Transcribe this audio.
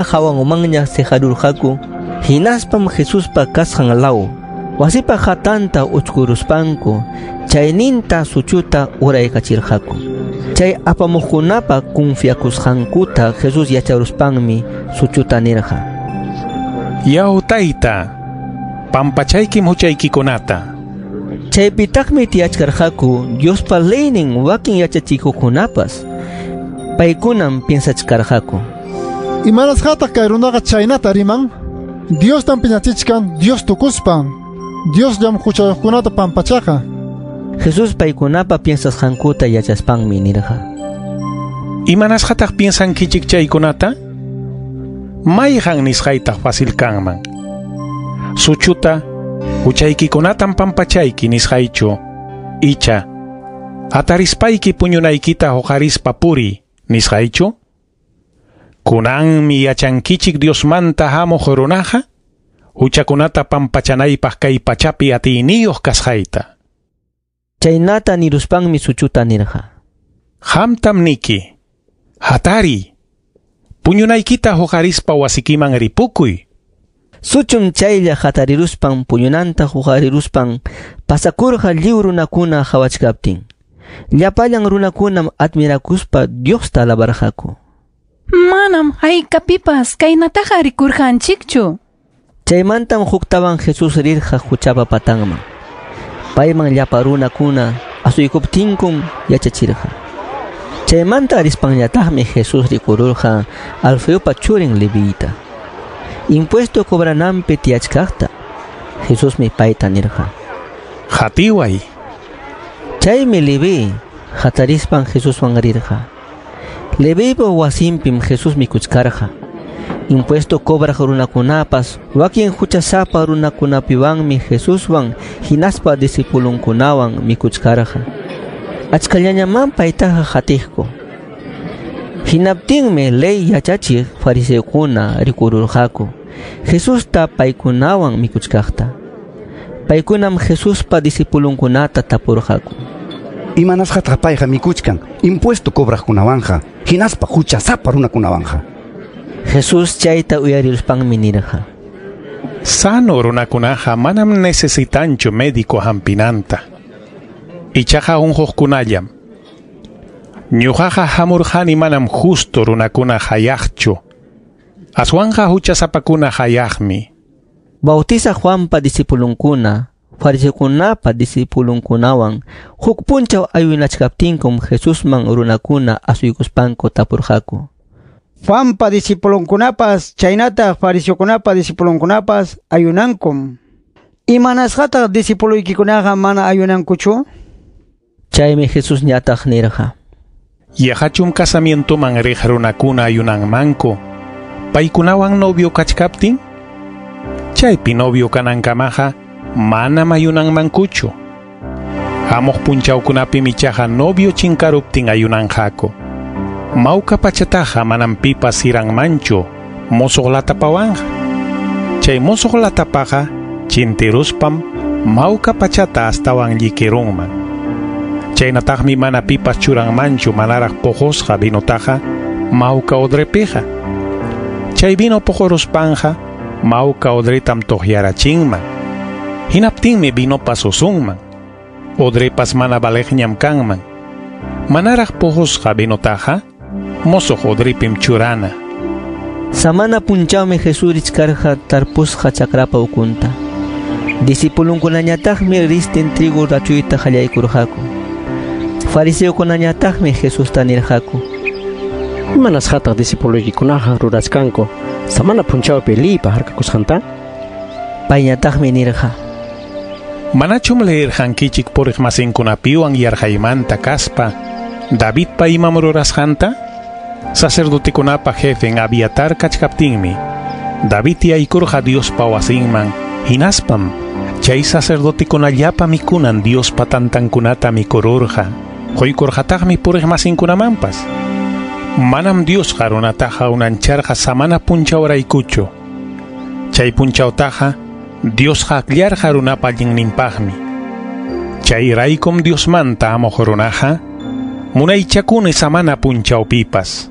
Hawanmanña seqarurqaku, hinaspam Jesuspa kasqan law wasipa hatanta uchkuruspanku chayninta suchuta uraykachirqaku. Chay apamuqkunapa confiakusqankuta Jesús yacharuspanmi suchuta nirqa: Yaw tayta, pampachaykim huchaykikunata. Chaypitaqmi tiyachkarqaku Diospa leynin wakin yachachikuqkunapas. Paykunam piensachkarqaku: Imanasqataq kay runaqa chaynata riman? Diostam piñachichkan Dios tukuspan. Diosllam huchayuqkunata pampachaqa. Jesús paykunapa piensasqankuta yachaspanmi nirqa: Imanasqataq piensankichik chaykunata? Mayqan nisqaytaq fácil kanman? Suchuta huchaykikunatam pampachayki nisqaychu, icha hatarispayki puñunaykita huqarispa puriy nisqaychu? Kunanmi yachankichik Diosmanta hamuq runaqa huchakunata pampachanaypaq kay pachapi atiyniyuq kasqayta. Chaynata niruspanmi suchuta nirqa: Qamtam niki, hatariy, puñunaykita huqarispa wasikiman ripukuy. Suchum chaylla hatariruspan puñunanta huqariruspan pasakurqa lliw runakuna qawachkaptin. Llapallan runakunam admirakuspa Diosta alabarqaku. Manam haykapipas kaynataqa rikurqanchikchu. Chaymantam huktawan Jesús rirqa huchapa patanman. Payman llapa runakuna asuykuptinkum yachachirqa. Chaymanta rispanñataqmi Jesús rikururqa Alfeopa churin Levita. Impuesto cobrananpi tiyachkaqta. Jesusmi payta nirqa: Qatiway. Chaymi Leví hatarispan Jesuswan rirqa. Leviypa wasinpim Jesús mikuchkarqa. Impuesto cobraq runakunapas wakin huchasapa runakunapiwanmi Jesuswan hinaspa discipulunkunawan mikuchkarqa. Achkallañaman paytaqa qatiqku. Hinaptinmi ley yachachiq fariseokuna rikururqaku Jesusta paykunawan mikuchkaqta. Paykunam Jesuspa discipulunkunata tapurqaku: Imanasqataq payqa mikuchkan impuesto cobraqkunawanqa hinaspa huchasapa runakunawanqa? Jesús chayta uyariruspanmi nirqa: Sano runakunaqa manam necesitanchu médico hampinanta. Ichaqa unquqkunallam. Ñuqaqa hamurqani manam justo runakuna hayaqchu, aswanqa huchasapakuna hayaqmi. Bautiza Juanpa discipulunkuna fariseokunapa discipulunkunawan huk punchaw ayunachkaptinkum Jesusman runakuna asuykuspanku tapurqaku: Juanpa discipulunkunapas chaynataq fariseokunapa discipulunkunapas ayunankum. Imanasqataq discipuloykikunaqa mana ayunankuchu? Chaymi Jesús ñataq nirqa: Yaqachum casamientoman riq runakuna ayunanmanku paykunawan novio kachkaptin? Chaypi novio kanankamaqa manam ayunanmankuchu. Hamuq punchawkunapim ichaqa novio chinkaruptin ayunanqaku. Mawka pachataqa manam pipas siranmanchu musuq latapawanqa. Chay musuq latapaqa chintiruspam mawka pachata astawan llikirunman. Chaynataqmi mana pipas churanmanchu manaraq puqusqa vinotaqa mawka odrepiqa. Chay vino puquruspanqa mawka odretam tuqyarachinman. Hinaptinmi vinopas usunman. Odrepas mana valeqñam kanman. Manaraq puqusqa vinotaqa musuq odrepim churana. Samana punchawmi Jesús richkarqa tarpusqa chakrapa ukunta. Discipulunkunañataqmi ristin trigo rachuyta qallaykurqaku. Fariseokunañataqmi Jesusta nirqaku: Imanasqataq discipuloykikunaqa rurachkanku samana punchawpi liypa harkakusqanta? Payñataqmi nirqa: Manachum leerqankichik puriqmasinkunapiwan yarqaymanta kaspa Davidpa imam rurasqanta? Sacerdotekunapa jefen Abiatar kachkaptinmi David yaykurqa Diospa wasinman, hinaspam chay sacerdotekunallapa mikunan Diospa tantankunata mikururqa, quykurqataqmi puriqmasinkunamanpas. Manam Diosqa runataqa unancharqa samana punchawraykuchu. Chay punchawtaqa Diosqa akllarqa runapa allinninpaqmi. Chayraykum Diosmanta hamuq runaqa munaychakuni samana punchawpipas.